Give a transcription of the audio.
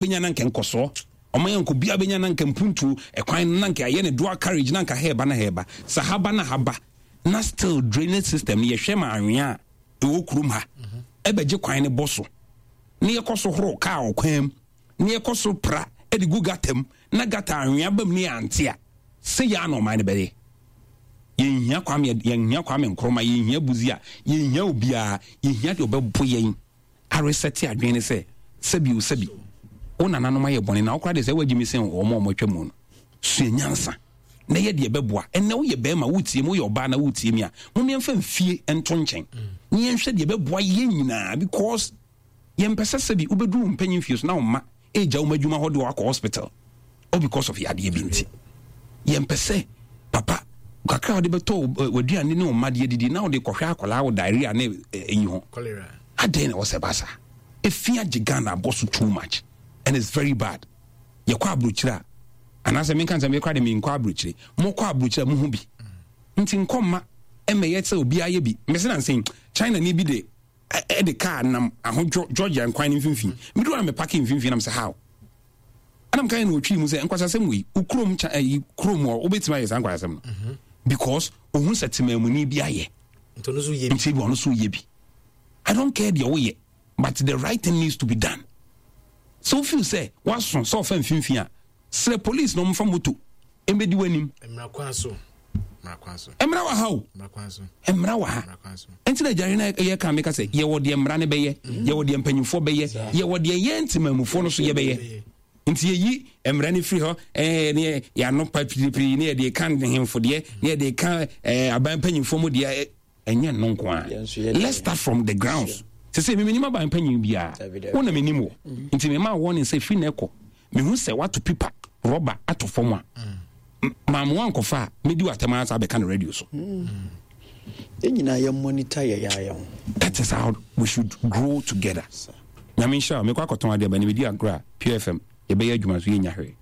Bɛnya na nka nkɔsoɔ ɔman yɛ nka obiara bɛnya na nka mpuntuo ɛkwan no na nka ayɛ ne dual carriage na nka hɛɛba na hɛɛba sɛ haba na haba na still drainage system no yɛhwɛ ma anwea a ɛwɔ kurom ha ɛbɛgye kwan no bɔ so na yɛkɔ so horo kaa ɔkwan mu na yɛkɔ so pra de gu gata mu na gata anwea bam ne yɛante a sɛ yɛ ana ɔman no bɛyɛ. Yɛnhia Kwame, yɛnhia Kwame Nkrumah, yɛnhia Busia, yɛnhia obiara, yɛhia deɛ ɔbɛbo yɛn aresɛte adwene ne sɛ sɛbi o sɛbi wo nananom ayɛ bɔne na wokora deɛ sɛ woagye me sen wɔn a wɔatwa mu no. Sua nyansa na yɛ deɛ ɛbɛboa. Ɛnnɛ woyɛ bɛrima wotie me, woyɛ ɔbaa na wotie me a, mom yɛmfa mfie nto nkyɛn na yɛnhwɛ deɛ ɛbɛboa yɛn nyinaa because yɛmpɛ sɛ sɛbi wobɛduru wo mpanyin fie so na wo mma ɛgya wo adwuma hɔ de wakɔ hospital all because of yadeɛ bi nti. Yɛmpɛ sɛ papa kakra a wode bɛtɔ w'aduane ne wo mma deɛ didi na wode kɔhwɛ akwadaa wɔ diarrhea ne ɛyi ho. Adɛn na ɛwɔ sɛ ɛba saa? Efi agye Ghana abɔ so too much and it's very bad. Yɛkɔ aburokyire a anaasɛ menka nsɛm yɛkora de menkɔ aburokyire. Mokɔ aburokyire a muhu bi. Nti nkɔ mma ɛmɛyɛ sɛ obiara yɛ bi. Mese na nsɛn China ni bi de ɛde kaa nam ahodwo Georgia nkwan no mfimfini. Medu a mepake mfimfini nam sɛ how? Ɛna meka yɛ na ɔtwii mu sɛ nkwasasɛm wei wo kurom ɛyi kurom hɔ wobɛtumi ayɛ saa nkwasasɛm no mhm. because ohun sɛ temamuni bi ayɛ nti ebi ɔno so yɛ bi. I don't care deɛ woyɛ but the right thing needs to be done. So feel sɛ waso sɛ ɔfa mfimfini a srɛ police na ɔmfa moto mbɛdi w'anim. Mmara kwan so. Mmara wɔ ha o. Mmara wɔ ha. Nti na agyare no yɛ ka meka sɛ yɛwɔ deɛ mmara no bɛyɛ, mm. yɛwɔ deɛ mpanyinfoɔ bɛyɛ, yɛwɔ deɛ yɛn ntimamufoɔ no so yɛbɛyɛ. Nti yɛyi mmara no firi hɔ ɛɛ ne yɛano pa piripiri ne yɛde ka nhemfo deɛ ne yɛde ka ɛɛ aban mpanyinfoɔ mu deɛ ɛnyɛ no nko ara. Let's start from the grounds. Sɛ sɛ menim aban panyin biara, wo na menim wɔ. Mm. Nti mema wɔne sɛ firi na ɛkɔ. Mehu sɛ wato pipa rɔba ato fam a, mm. maamoa nkɔfa a, medi w'atɛm ara saa bɛka no radio so. Mm. Yɛn nyinaa yɛ monitor yɛ yɛ ho. That is how we should grow together. Nyame nhyira wo. Mekɔ akɔtɔn adeɛ ba ne medi agorɔ a Pure FM yɛbɛyɛ adwuma so yɛnya hwee.